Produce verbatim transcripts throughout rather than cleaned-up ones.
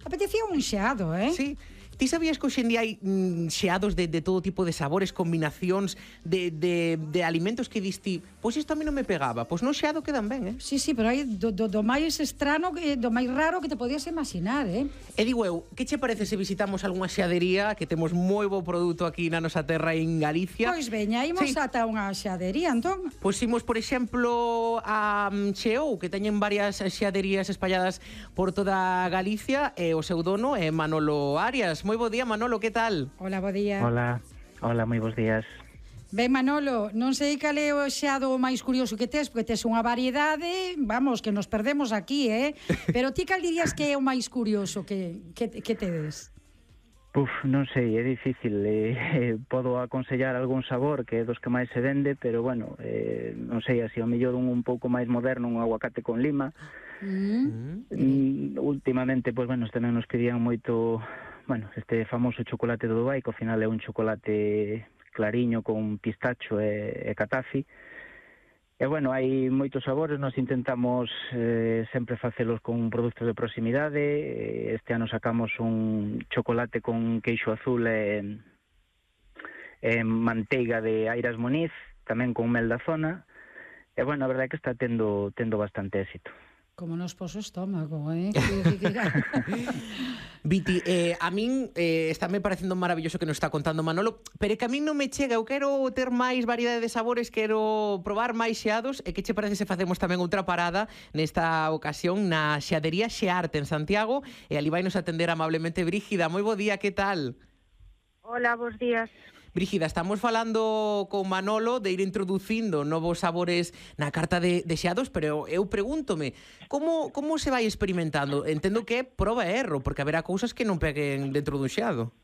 Apetecía un xeado, eh? Sí. Ti sabías que hoxe en día hai mm, xeados de, de todo tipo de sabores, combinacións de, de, de alimentos que diste, pois isto a mí non me pegaba, pois no xeado quedan ben, eh? Sí, sí, pero hai do, do, do máis estrano, do máis raro que te podías imaginar, eh? E digo eu, que che parece se visitamos algunha xeadería, que temos moi bo produto aquí na nosa terra en Galicia? Pois veña, imos Sí. ata unha xeadería, entón. Pois imos, por exemplo, a um, Cheou, que teñen varias xeaderías espalladas por toda Galicia, e o seu dono é Manolo Arias. Moi bo día, Manolo, que tal? Hola, bo día. Hola, hola, moi bons días. Ben, Manolo, non sei cal é o xeado máis curioso que tes, porque tes unha variedade, vamos, que nos perdemos aquí, eh? Pero ti cal dirías que é o máis curioso que, que, que tedes? Puf, non sei, é difícil. Eh, eh, podo aconsellar algún sabor que é dos que máis se vende, pero bueno, eh, non sei, así ao mellor un un pouco máis moderno, un aguacate con lima. Mm. Mm, últimamente, pois, bueno, tamén nos pedían moito, bueno, este famoso chocolate do Dubai, que ao final é un chocolate clariño con pistacho e, e catafi. E, bueno, hai moitos sabores, nós intentamos eh, sempre facelos con produtos de proximidade. Este ano sacamos un chocolate con queixo azul e, e manteiga de Airas Moniz, tamén con mel da zona. E, bueno, a verdade é que está tendo, tendo bastante éxito. Como nos pos o estómago, eh? Viti, eh, a min eh, está me parecendo maravilloso que nos está contando Manolo, pero é que a min non me chega, eu quero ter máis variedade de sabores, quero probar máis xeados, e que che parece se facemos tamén outra parada nesta ocasión na xeadería Xearte en Santiago, e ali vai nos atender amablemente Brígida. Moi bo día, que tal? Hola, bons días. Brígida, estamos falando con Manolo de ir introducindo novos sabores na carta de, de xeados, pero eu pregúntome, como, como se vai experimentando? Entendo que é proba e erro, porque haberá cousas que non peguen dentro dun xeado.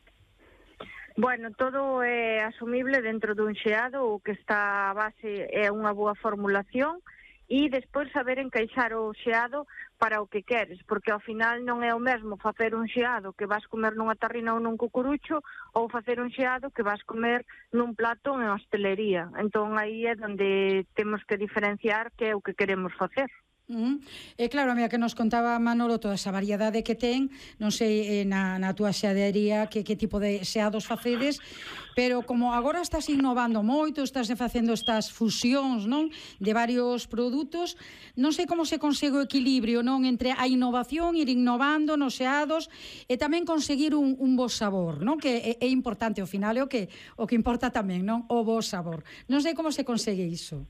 Bueno, todo é asumible dentro dun xeado, o que está a base é unha boa formulación, e despois saber encaixar o xeado para o que queres, porque ao final non é o mesmo facer un xeado que vas comer nunha tarrina ou nun cucurucho, ou facer un xeado que vas comer nun plato en hostelería. Entón aí é onde temos que diferenciar que é o que queremos facer. Uh-huh. E claro, mira, que nos contaba Manolo toda esa variedade que ten, non sei eh, na, na túa xeadería que, que tipo de xeados facedes, pero como agora estás innovando moito, estás facendo estas fusións, non, de varios produtos, non sei como se consegue o equilibrio, non, entre a innovación, ir innovando nos xeados e tamén conseguir un, un bo sabor, non, que é, é importante ao final, é o que o que importa tamén, non, o bo sabor. Non sei como se consegue iso.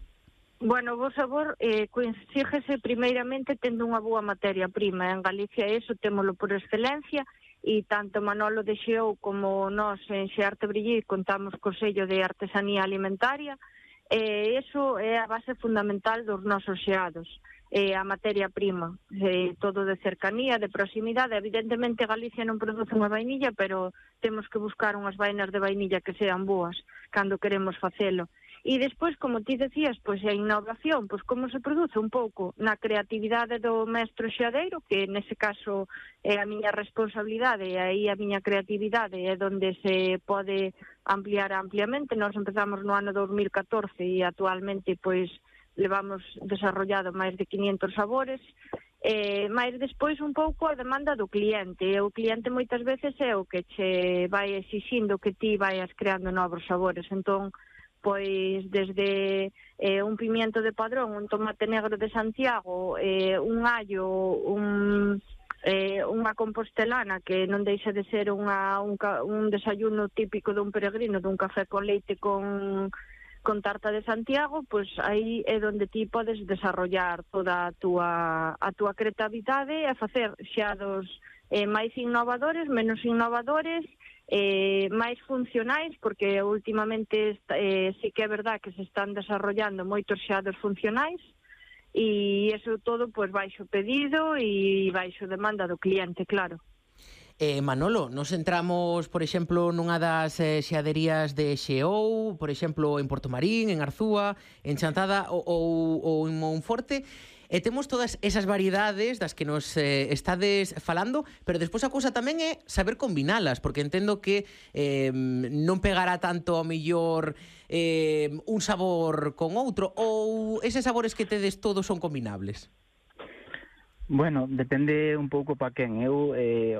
Bueno, o bo sabor eh, consíguese primeiramente tendo unha boa materia prima. En Galicia eso témolo por excelencia, e tanto Manolo de Xeou como nós en Xearte Brillí contamos co sello de artesanía alimentaria, e eh, eso é a base fundamental dos nosos xeados, eh, a materia prima, eh, todo de cercanía, de proximidade. Evidentemente Galicia non produce unha vainilla, pero temos que buscar unhas vainas de vainilla que sean boas cando queremos facelo. E despois, como ti decías, pois a innovación, pois como se produce un pouco na creatividade do mestre xeadeiro, que nese caso é a miña responsabilidade, e aí a miña creatividade é onde se pode ampliar ampliamente. Nós empezamos no ano dos mil catorce e actualmente pois levamos desarrollado máis de quinientos sabores. Eh, máis despois un pouco a demanda do cliente, e o cliente moitas veces é o que che vai exixindo que ti vayas creando novos sabores. Entón, pois desde eh, un pimiento de Padrón, un tomate negro de Santiago, eh, un allo, un, eh, unha compostelana que non deixa de ser unha, un, un desayuno típico dun peregrino, dun café con leite con, con tarta de Santiago, pois aí é onde ti podes desarrollar toda a túa, a túa creatividade e facer xeados eh, máis innovadores, menos innovadores, eh, máis funcionais, porque últimamente eh, sí que é verdad que se están desarrollando moitos xeados funcionais, e iso todo pois baixo pedido e baixo demanda do cliente, claro. Eh, Manolo, nos entramos, por exemplo, nunha das eh, xeaderías de Xeou, por exemplo, en Portomarín, en Arzúa, en Chantada ou, ou, ou en Monforte, e temos todas esas variedades das que nos eh, estades falando, pero despois a cousa tamén é saber combinalas, porque entendo que eh, non pegará tanto ao mellor eh, un sabor con outro, ou eses sabores que tedes todos son combinables? Bueno, depende un pouco pa quen. Eu, eh,